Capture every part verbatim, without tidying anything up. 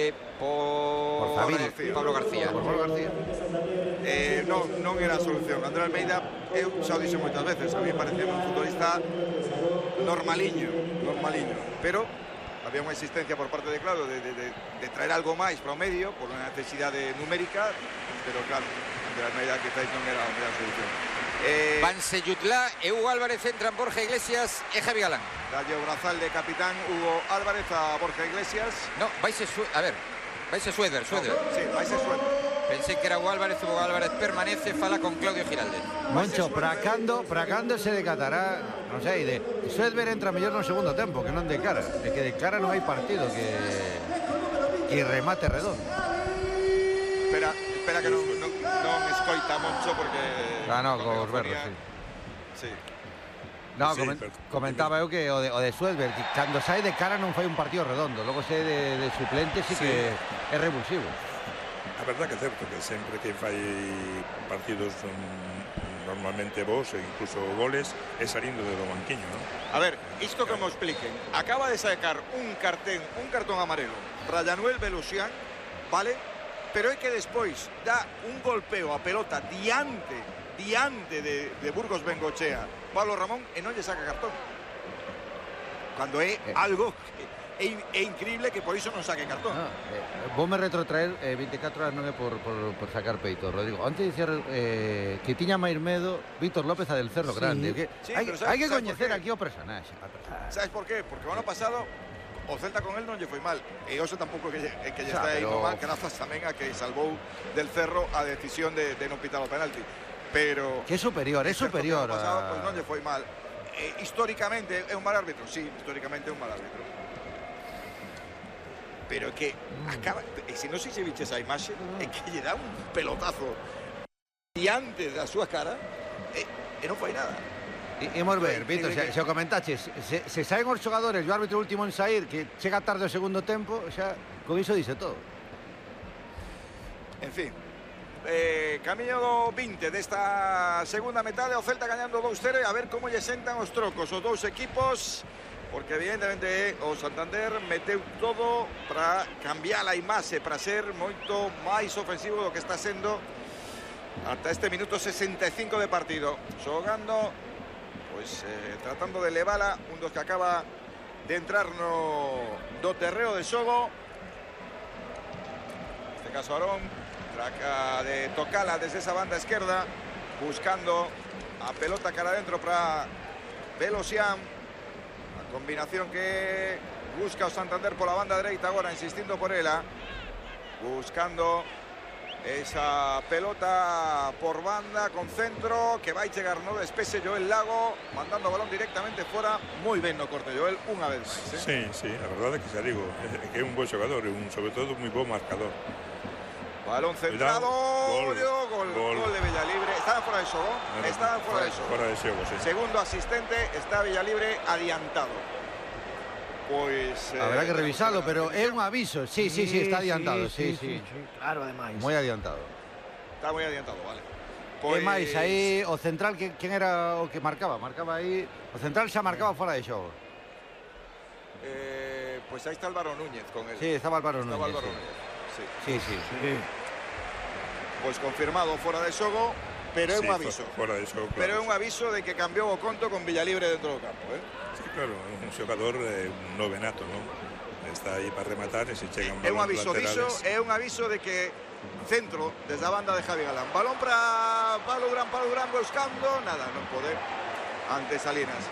eh, por, por García. Pablo García. Por Pablo García. Eh, non, non era a solución. André Almeida, eu xa o dixo moitas veces, a mí parecía un futbolista normaliño, normaliño, pero había unha existencia por parte de Claudio de, de, de, de traer algo máis para o medio por unha necesidade numérica, pero claro, André Almeida quizás non era, non era a solución. Eh, Vanse Yutlá e Hugo Álvarez entran Borja Iglesias e Javi Galán. Dalle o brazal de capitán Hugo Álvarez a Borja Iglesias. No, vaise a ver, vaise Suéder, Suéder. No, sí, vaise Suéder. Pensei que era Hugo Álvarez, Hugo Álvarez permanece, fala con Claudio Giraldes. Moncho, Bracando, Bracando se decatará, non sei, de Suéder entra mellor no segundo tempo, que non de cara, de que de cara non hai partido que que remate redondo. Espera, espera que non, non, non escoita Moncho porque ah, no, con os berros, sí. Sí. No, sí, coment, comentaba eu que o de, o de Suéder, que cando sai de cara non fai un partido redondo, logo sai de, de suplente sí, sí que é revulsivo. A verdad que é certo que sempre que fai partidos um, normalmente vos e incluso goles é salindo do banquiño, non? A ver, isto que me expliquen. Acaba de sacar un cartén, un cartón amarelo Rayanuel Belusián, vale? Pero é que despois dá un golpeo a pelota diante, diante de, de Burgos Bengochea, Pablo Ramón, e non lle saca cartón. Cando é eh. algo que é, é increíble que por iso non saque cartón. Ah, eh, vou me retrotraer eh, veinticuatro horas non é por, por, por sacar peito, Rodrigo. Antes de dicir eh, que tiña máis medo Víctor López a del Cerro sí. Grande. Que sí, hai, sabes, hai que coñecer aquí o personaxe. Sabes por qué? Porque o ano pasado o Celta con él non lle foi mal. E hoxe tampouco que lle, que lle está pero... indo mal, grazas tamén a que salvou del Cerro a decisión de, de non pitar o penalti. Pero... Que é superior, é superior. O pasado a... pues, non lle foi mal. Eh, históricamente é un mal árbitro, sí, históricamente é un mal árbitro. Pero que acaba, e se non sei se viches a imaxe, é que lle dá un pelotazo diante da súa cara e, e non fai nada. Imos ver, Víctor, se, se o comentaches, se, se saen os xogadores e o árbitro último en sair, que chega tarde o segundo tempo, xa con iso dice todo. En fin, eh, camiño do vinte desta segunda metade, o Celta gañando dous cero, a ver como lle sentan os trocos os dous equipos, porque evidentemente o Santander meteu todo para cambiar a imaxe, para ser moito máis ofensivo do que está sendo ata este minuto sesenta e cinco de partido, xogando pois eh, tratando de levala un dos que acaba de entrar no do terreo de xogo, neste caso Arón, traca de tocala desde esa banda esquerda, buscando a pelota cara adentro para Belusián, a combinación que busca o Santander pola banda dereita agora, insistindo por ela, buscando esa pelota por banda con centro que vai chegar no despese Joel Lago, mandando o balón directamente fora. Moi ben no corte Joel, unha vez máis, eh? Sí, sí, a verdade é que xa digo, é que é un bo xogador e un, sobre todo, moi bo marcador. Balón centrado, gol, gol, gol, gol de Villalibre. Estaban fora de xogo, no, no, estaban fora de xogo. Fora de xogo, sí. Segundo asistente, está Villalibre adiantado. Pois eh, habrá que revisarlo, pero é un aviso. Sí, sí, sí, está adiantado, sí, sí. sí, sí, sí. Claro, ademais. Moi adiantado. Está moi adiantado, vale. Pois... E máis, aí o central, que, quen era o que marcaba? Marcaba aí, o central xa marcaba fora de xogo. Eh, pois aí está Álvaro Núñez con él. Sí, estaba Álvaro Núñez. Estaba Álvaro sí. Núñez. Sí, sí, sí. sí. sí. Pois confirmado fora de xogo, pero é sí, un aviso. Fora de xogo, claro. Pero é un aviso de que cambiou o conto con Villalibre dentro do campo, eh? Sí, claro, un xogador eh, un novenato, non? Está aí para rematar e se chegan é un aviso diso, é un aviso de que centro desde a banda de Javi Galán, balón para Pablo Durán, Pablo Durán buscando, nada, non pode ante Salinas.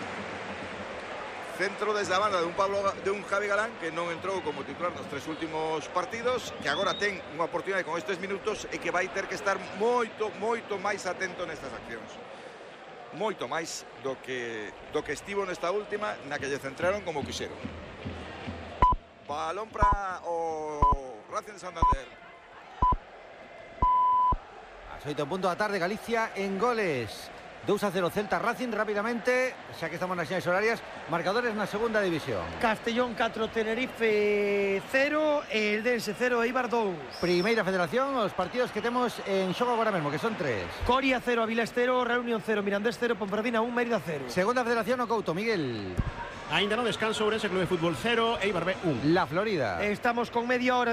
Centro desde a banda de un Pablo de un Javi Galán que non entrou como titular nos tres últimos partidos, que agora ten unha oportunidade con estes minutos e que vai ter que estar moito, moito máis atento nestas accións. Moito máis do que do que estivo nesta última, na que lle centraron como quixeron. Balón para o Racing de Santander. A oito punto da tarde, Galicia en goles. dous a cero Celta Racing, rápidamente, xa que estamos nas señas horarias, marcadores na segunda división. Castellón catro, Tenerife cero, Eldense cero, Eibar dous. Primeira Federación, os partidos que temos en xogo agora mesmo, que son tres. Coria cero, Avilés cero, Reunión cero, Mirandés cero, Ponferradina un, Mérida cero. Segunda Federación, o Couto, Miguel. Ainda no descanso, Ourense Club de Fútbol cero, Eibar B un. La Florida. Estamos con media hora